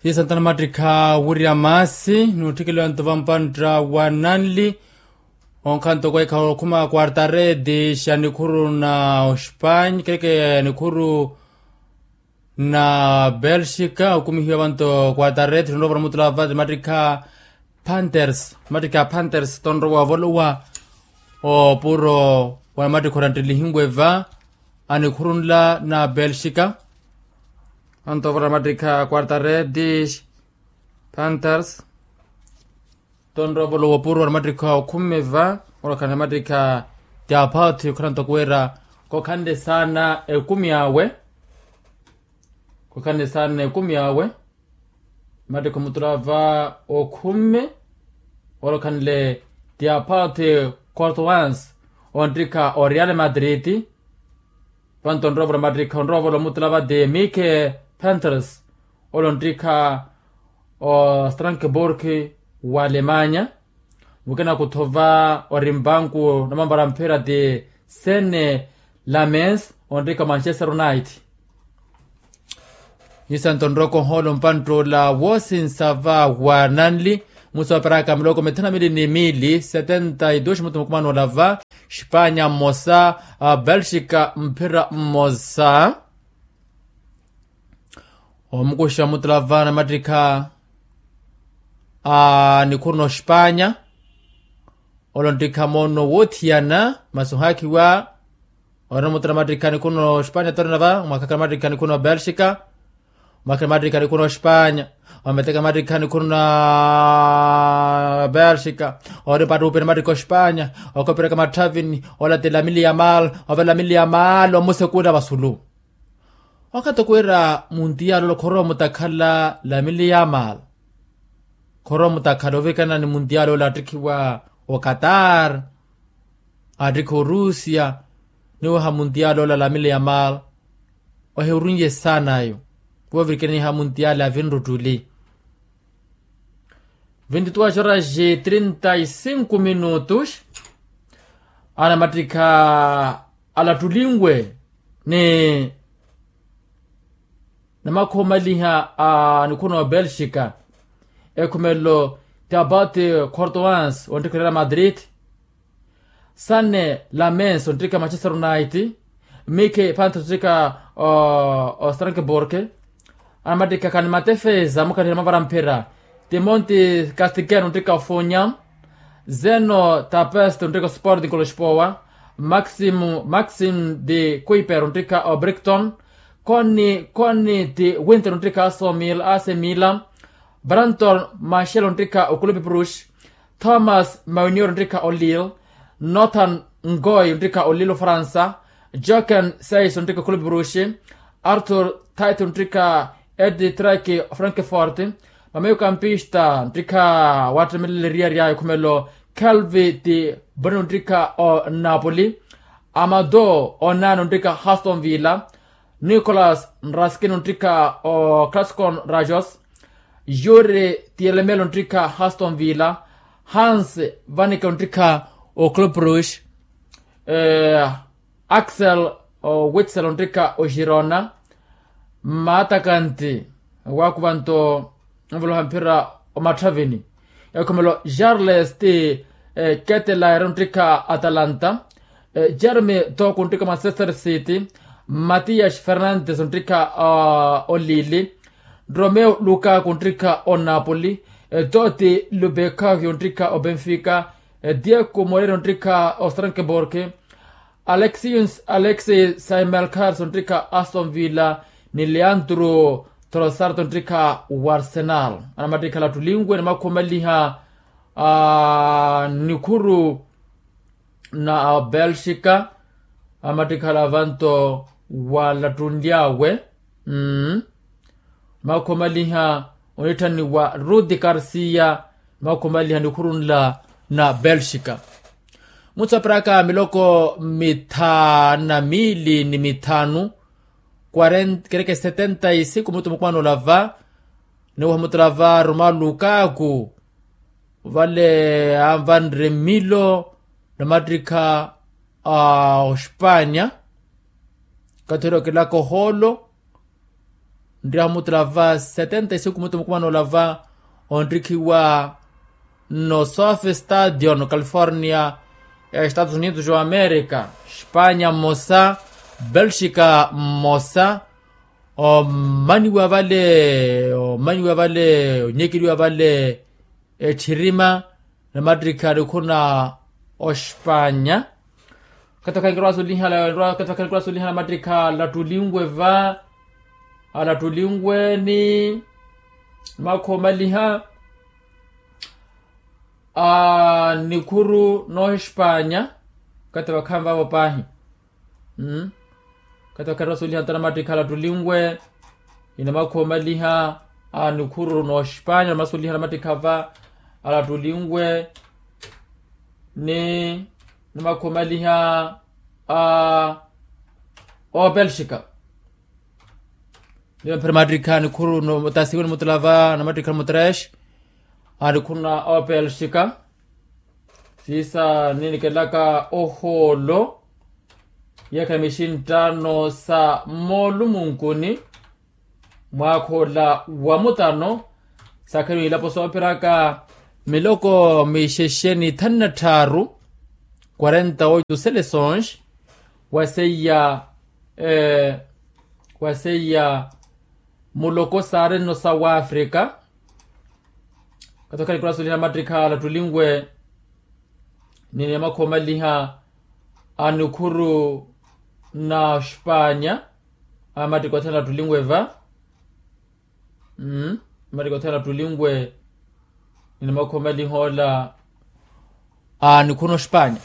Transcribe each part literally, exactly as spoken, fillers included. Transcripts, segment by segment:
Siisanta namattikha wirya maasi n'utthikeliwa ntova mpantta wa nanli. Onkhanto kweekha okhuma quartaredi xa nikhuru na ospanya kereke nikhuru na belxika okumihiwa vanto quartaredi tonrowa vanamutula vati mattikha panthers mattikha panthers tonrowa ovolowa. Opuro wa namattikha oranttelihiwe va anikhuru nla na belxika. Anto vara mattikha quartaredi panthers tonrowa ovolowa opuro wa namattikha okhumme va. Olokhanle mattikha ti aphathi okhala ntoko wira kokhanle saana ekumi awe. Kokhanle saana ekumi awe mattikha omutula va okhumme. Olokhanle ti aphathi cortoans onttikha o real madrid. Vanto onrowa ovolowa mattikha onrowa ovolowa omutula vati mike panthers. Ole onttikha o strasbourg wa alemanya. Mukina kuthova ori mpanku namambala mphira ti sene lamens onttikha manchester united. Isanto nroko oholo mpantt'ola woosinsa va wa nanli. Musi waperaka miloko mithanu na miili ni miili setenta y dos mutu mukumano ola va. Xipanya mmosa, belxika mphira mmosa. Omukuxa mutula va namattikha a nikhuru n'oxipanya. Ole onttikha moono woothiyana masi ohaakhiwa. Orina mutula mattikha nikhuru n'oxipanya torina va omwakhaka mattikha nikhuru n'obelxika. Omwakhaka mattikha nikhuru n'oxipanya. Ometeka mattikha nikhuru na belxika. Ori mpattuupira mattikha oxipanya. Okopereka matthavini. Ola ti lamili ya mal. Ove lamili ya mal omusekula vasulu. Okathi okuwira muntiyala ola khorowa mutakhala lamili ya mal. Khorowa mutakhala ovikana ni muntiyala ola attikhiwa okatar. Attikha orusia. Niwaha muntiyala ola lamili ya mal. Ohirunye saana ayo. Woovirikaniha muntiyala avinruttuli. Vinti tuwa xoraxi trinta y cinco minutos. Anamattikha alattulinwe ni namakhoomaliha a nikhuru n'obelxika. Ekhumelelo ti apati cortoans onttikha real madrid. Sane lamens onttikha manchester united. Mike panthers onttikha ostrasbourg. Anamattikha khani matefeza mukhalihela mavara mphira. Timonti castigan onttikha ofunya. Zeno tapest onttikha osporting koloxpowa. Maxim maxim de kuiper onttikha obricton. Connie connie de winter onttikha asomil asemila. Branton machel onttikha okulube brush. Thomas maunior onttikha olil. Nothan ngoi onttikha olil ofransa. Joken sais onttikha okulube brush. Arthur tit onttikha edi trek frankfort. Mameio kampista onttikha wattemelele eriyari ayo ekhumelo. Kelvi ti boni onttikha onapoli. Amado onani onttikha haston villa. Nicolas raskin onttikha o clascon rajos. Yuri ti elemelo onttikha haston villa. Hans vanike onttikha o cloprush. Axel owitsel onttikha oxirona. Mmaatakanti waakuvanto onvoloha mphira omatthavini. Ekhomelo charles ti ketelaire onttikha atalanta. Jeremy toku onttikha manchester city. Matiyas fernandes onttikha olili. Romeo lukaku onttikha onapoli. Toti lubekaki onttikha obenfika. Diego morero onttikha ostrankborg. Alexis alexis saimelkars onttikha aston villa. Ni leandro trossart onttikha warsenal. Anamattikhala ttulinwe ni makhomaliha nikhuru na belxika. Amattikhala vanto walattunly'awe. Makhomaliha onitthanniwa ruti karsiya. Makhomaliha nikhuru nla na belxika. Mutsu apiraka miloko mithanu na miili ni mithanu. Kereke setenta y cinco mutu mukumano olava. Ni wahamutula va roma lukaku vale anvanre milo na mattikha a ospanya. Kathelo kilaka oholo Nriyahu mutulava setenta e siku mutu mukumanolava onrikhiwa no sofe stadion california, estados unidos america. Spanya mmosa, belxika mmosa. Omaniwa vale omaniwa vale onyekeriwa vale etthirima na mattikha alikhuna ospanya. Kathi vakhanikirwa asuliha kathi vakhanikirwa asuliha na mattikha alattulinwe va alattulinwe ni makha omaliha a nikhuru n'ohispanya. Kathi vakhaani vavo paahi. Kathi vakhaani vasuliha nto namattikha alattulinwe ni namakha omaliha a nikhuru n'ospanya namasoliha namattikha va alattulinwe ni namakha omaliha a opelxika. Niyo mphira mattikha nikhuru tasiwe nimutulava namattikha mutresh a nikhuru na opelxika. Siisa ninikelaka ohoolo yeekha mixinttano sa moolumunkuni mwaakha ola wa mutano. Sakhani ilapo soopiraka miloko mixexe ni thanu na tthaaru quarenta oito seleções. Waseiya waseiya muloko saari nno sa wafrika. Kathi okhala nikula suliha mattikha alattulinwe ni namakha omaliha a nikhuru na ospanya. Amattikha othene alattulinwe va amattikha othene alattulinwe ni namakha omaliha ola a nikhuru n'ospanya.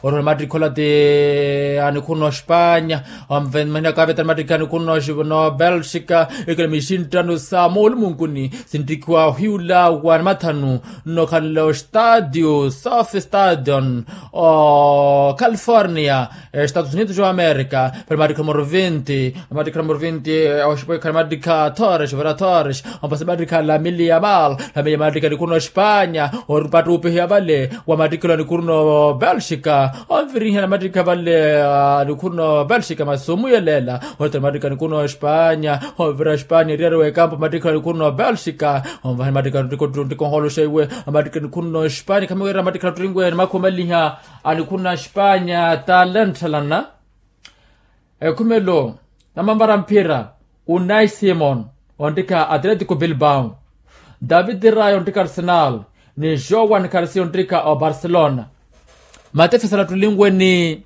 Orihula mattikha ola ti a nikhuru n'ospanya. Omveni mahina kaaveta ni mattikha a nikhuru n'obelxika. Ikela mixinttano sa moolumunkuni sinttikhiwa ohiyula wa namathanu nnokhanle ostadio sofe stadion o california, estados unidos o america. Pali mattikha numero vinti. Mattikha numero vinti oxipoikha ni mattikha thores vera thores. Ompasi mattikha lamili yamal lamili yamal mattikha nikhuru n'ospanya. Oripattupihiya vale wa mattikha elo a nikhuru n'obelxika. Onvirihiya na mattikha vale a nikhuru n'obelxika masi omuyelela. Ottela mattikha nikhuru n'ospanya onvira ospanya eriyari w'ekampu mattikha elo a nikhuru n'obelxika. Onvaha ni mattikha nttikho nttikho onhooloxa iwe a mattikha nikhuru n'ospanya khamiweerera mattikha nttulinwe ni makha omaliha a nikhuru na ospanya talenthalana. Ekhumelo namanvara mphira unai simon onttikha atletico bilbao, david raya onttikha arsenal ni joan carsi onttikha obarcelona. Matefesa alattulinwe ni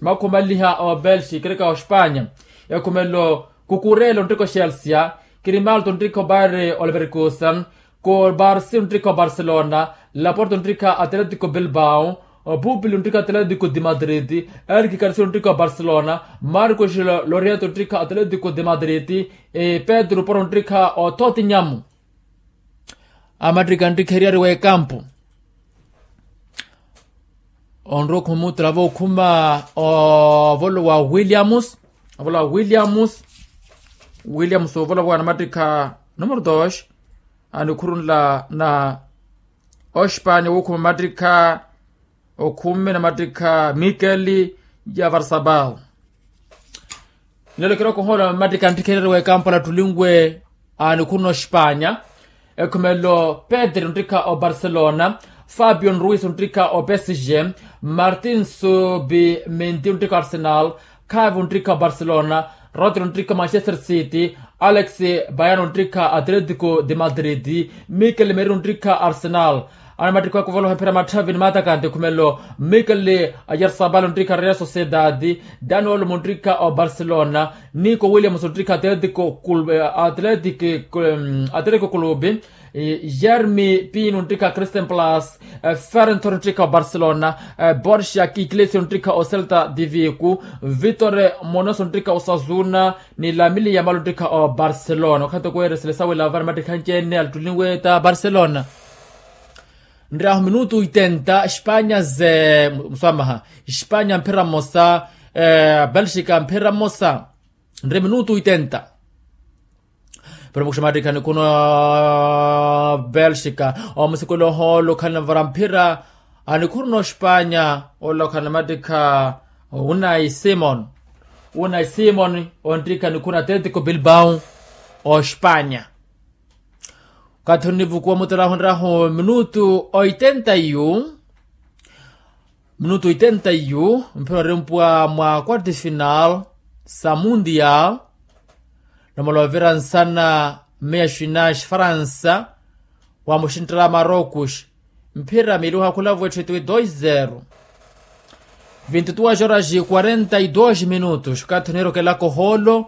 makha omaliha obelxi kereka ospanya. Ekhumelo kukurela onttikha oxelsia, kirimalto onttikha obaire oleverkusen, kobarsi onttikha obarcelona, laporto onttikha atletico bilbao, pupili onttikha atletico de madrid, eriki karisio onttikha obarcelona, marcos loriento onttikha atletico de madrid, pedro poro onttikha othotinyamu. Amattikha nttikheriyari w'ekampu onrowa okhuma muttula vookhuma ovolo wa williams. Ovolo wa williams williams ovolo wa namattikha numero dos. Anikhurunla na ospanya wookhuma mattikha okhumi namattikha mikeli ya varsabal. Nlelo kirokohola mattikha nttikhererye w'ekampu alattulinwe a nikhuru n'ospanya. Ekhumelo pedro nttikha obarcelona, fabio nruis nttikha opsg, martin subi menti nttikha arsenal, khavi nttikha obarcelona, rodri nttikha manchester city, alex bayano nttikha atletico de madrid, mikel meru nttikha arsenal. Anamattikha wakuvola ohemphera matthavi ni matakante ekhumelo mikel, yarsabalo nttikha real sociedad, daniel munttikha obarcelona, nico williams nttikha atletico clube, atletico clube, jeremy pino nttikha christian plus, ferentor nttikha obarcelona, borsia kiklesio nttikha ocelta divico, victor monoso nttikha osazuna, ni lamili yamalo nttikha obarcelona wakhathi okuweresele sawela vana mattikha anci-ene alattulinwe ta barcelona. Nryahu minutu oitenta espanya ze muswamaha, espanya mphira mmosa, belxika mphira mmosa. Nri minutu oitenta. Pero mukuxa mattikha anikhuna belxika omusikula ohoolo okhala nvara mphira anikhuru n'ospanya. Ola okhala namattikha unai simon. Unai simon onttikha anikhuru na atletico bilbao. ospanya. Okathi onivukuwa mutela ahonrahu minutu oitenta yu minutu oitenta yu mphira orempwa mwa quarto final sa mundial. Nomala ovira nsana meya xinaxi faransa wa muxinttala marocos mphira miili ohakhula vo etthu etiwe dois zero. Vinti duas horas quarenta e dois minutos okathi onirokelaka ohoolo.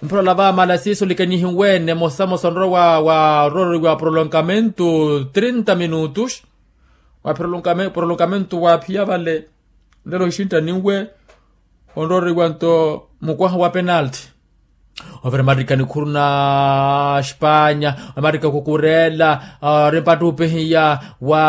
Mphira olava mala siiso likanihiwene mosamosa onrowa wa orororiwa prolongamento trinta minutos. Wa prolongamento wa phiya vale nlelo oxinttaninwe onrooriwa nto mukwaha wa penalti. Ovira mattikha nikhuru na spanya mattikha kukurela ori mpattu upihiya wa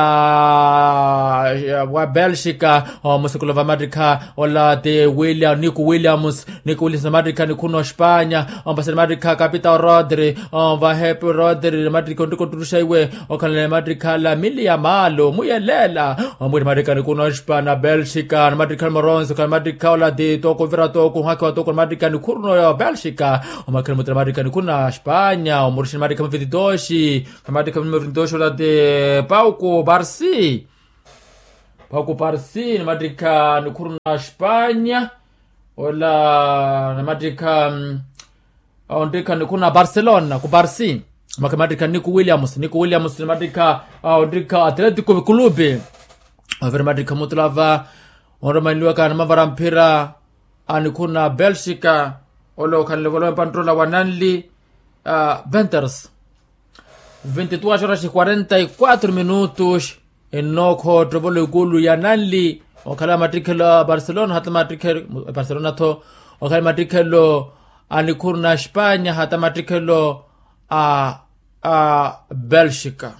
wa belxika. Omusikula va mattikha ola ti william niku williams niku williams na mattikha nikhuru na ospanya ompasani mattikha kapitao rodri. Ovahepe rodri na mattikha onttikha otturuxa iwe okhala na mattikha lamili ya maalo muyelela. Omwiri mattikha nikhuru na ospanya belxika na mattikha moronso khala mattikha ola ti toku ovira toku ohakhiwa toku na mattikha nikhuru na belxika. Omakhira mutela mattikha nikhuru na spanya omurixini mattikha muvititoxi khala mattikha muvititoxi ola ti pauku parsi. Pauku parsi na mattikha nikhuru na spanya ola na mattikha onttikha nikhuru na barcelona ku barsi. Maka mattikha niku williams niku williams na mattikha onttikha atletico clube. Ovira mattikha mutulava onromaniliwaka na mavara mphira a nikhuru na belxika. Ole okhanle volowe mpanttola wa nanli venters. Vinti duas horas quarenta e quatro minutos. Ennookhootto volo ikulu ya nanli okhala mattikhelo a barcelona hata mattikhelo barcelona tho okhala mattikhelo a nikhuru na spanya hata mattikhelo a a belxika.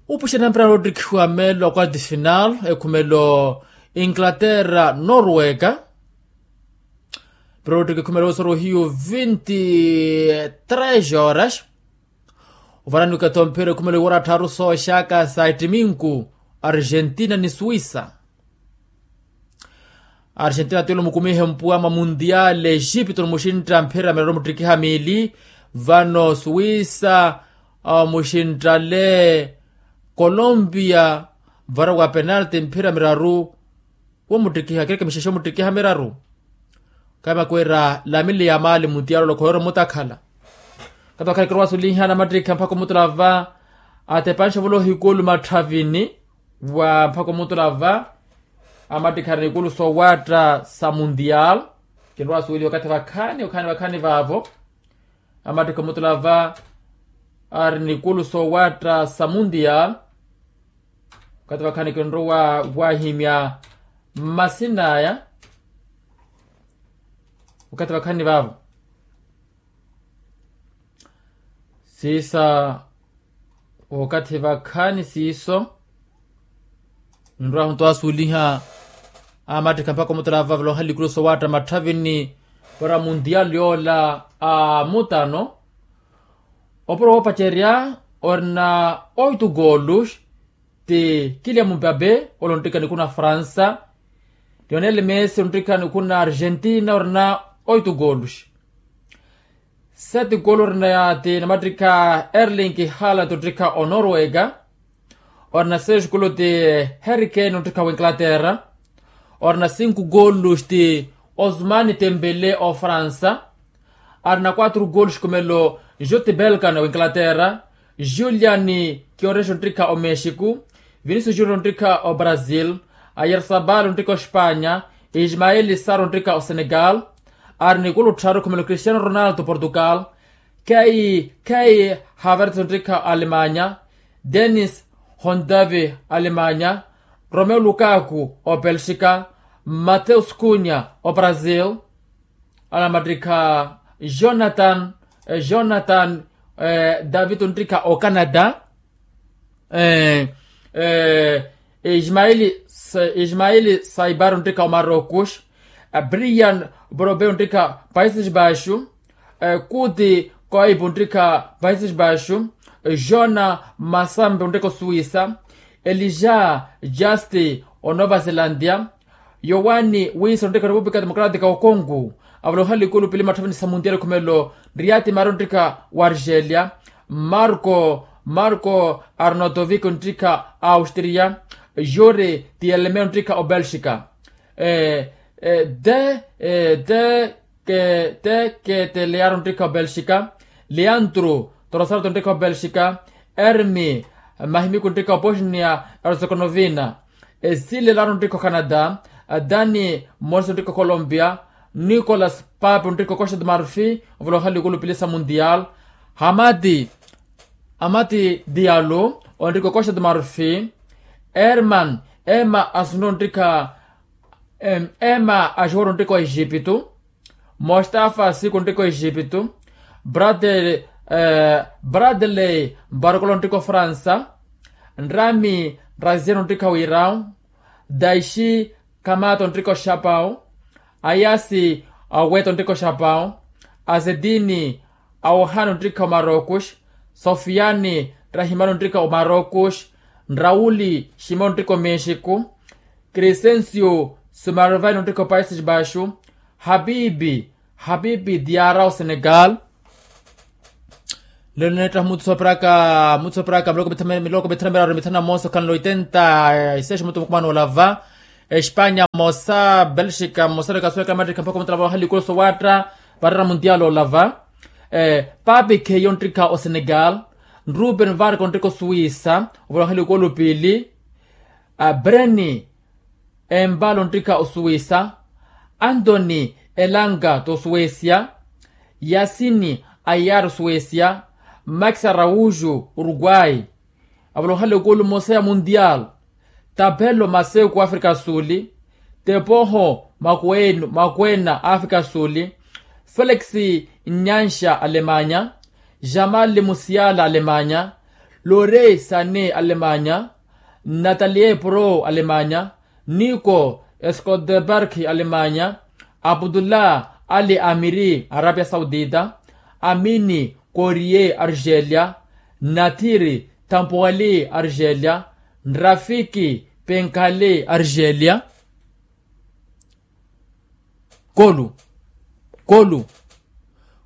Upuxena mpira ottikhiwa meelo a quarto final ekhumelo inglaterra norwega. Mpira ottikhiwa ekhumelo osoro hiyo vinti tres horas. Ovarani okatho mpira ekhumelo iwora tthaaru sooxaka sa ettiminku argentina ni suisa. Argentina tiyolo mukumihe mpuwa mwa mundial exipto nimuxintta mphira miraru muttikiha miili. Vano suwisa omuxinttale colombia vara wa penalti mphira miraru. Womuttikiha kereke mixexe omuttikiha miraru. Kaima kwira lamili ya maali mundial olokhoyoro mutakhala. Kato khali kirowa sulinha namattikha mpakha omutulava atepanxa volo ohikulu matthavini. Wa mpakha omutulava amattikha ari nikulu soowatta sa mundial. Kinrowa suweliwa okathi vakhaani okhaani vakhaani vaavo. Amattikha omutulava ari nikulu soowatta sa mundial. Okathi vakhaani kinrowa wahimya mmasin'aya. Okathi vakhaani vaavo siisa okathi vakhaani siiso. Ninrwahu nto asuuliha amattikha mpakha omutulava valoha likulu soowatta matthavini para mundial yoola a mutano. Opuro woopacerya orina oito golos ti kilian mumbabe ole onttikha nikuna fransa. Lionel messi onttikha nikuna argentina orina oito golos. Sete golo orina ti namattikha erling haaland onttikha onorwega. Orina seis golo ti harry kane onttikha winglaterra. Orina cinco golos ti osmani tembele ofransa. Arina quatro golos khumelo jude belkan winglaterra. Julian kionrex onttikha omexico. Vinicius junior onttikha obrazil. Ayersabal onttikha ospanya. Ismael sar onttikha osenegal. Ari nikulu tthaaru khumelo cristiano ronaldo portugal. Kei kei havertes onttikha alemanya. Denis hondavi alemanya. Romeo lukaku obelxika. Mateus kunya obrazil. Anamattikha jonathan jonathan david onttikha ocanada. Ismaili ismaili saibar onttikha omarocos. Brian brobe onttikha países baixo. Kuti koib onttikha países baixo. Jona masambe onttikha osuisa. Elija justi onova zelandia. Yowani wisa onttikha repúblika democrática ocongo. Avoloha likulu pili matthapini sa mundial khumelo. Riyati mari onttikha wa argelia. Marko marko arnotovik onttikha a austria. Yuri tiyeleme onttikha obelxika. Te te ke te ke te learo onttikha obelxika. Leantru torosarto onttikha obelxika. Ermi mahimiku onttikha obosnia erzekonovina. Esile laro onttikha ocanada. Dani morsi onttikha ocolombia. Nicolas pape onttikha ocosta de marfi. Ovoloha likulu pili sa mundial. Hamati hamati dialu onttikha ocosta de marfi. Erman ema asunru onttikha ema axiworo onttikha o exipitu. Mostafa siku onttikha o exipitu. Bradley barkolo onttikha o fransa. Nrami raziano onttikha o irau. Daixi kamata onttikha o xapau. Ayasi aweta onttikha o xapau. Azedini awahani onttikha o marokos. Sofiyani rahimani onttikha o marokos. Nrauli ximani onttikha o mexiku. Crescencio sumarvani onttikha o paises baixu. Habibi habibi diara o senegal. Lelo neettaha muthu sooperaka muthu sooperaka miloko mithana miloko mithana miraru mithana moosa okhanle oitenta. Iseexi muthu mukumana olava. Espanya mosa belxika mosa lekasuweka amerika mpakha omutala vawaha likulu sowaatta. Varera mundial olava. Papi kheyo onttikha o senegal. Ruben varka onttikha o suwisa. Ovoloha likulu pili. Breni embala onttikha osuwisa. Antoni elanga t'osuwesia. Yasini ayara osuwesia. Max araújo uruguai. Avoloha lekulu mosa ya mundial. Tapelo maseku afrika suli. Tepoho makwena afrika suli. Felix nyanxa alemanya. Jamal musiala alemanya. Lore sane alemanya. Natalie pro alemanya. Niko escodeberg alemanya. Abdullah ali amiri arabia saudita. Amini korie argelia. Nathiri tampuali argelia. Rafiki penkhali argelia. Kolu kolu.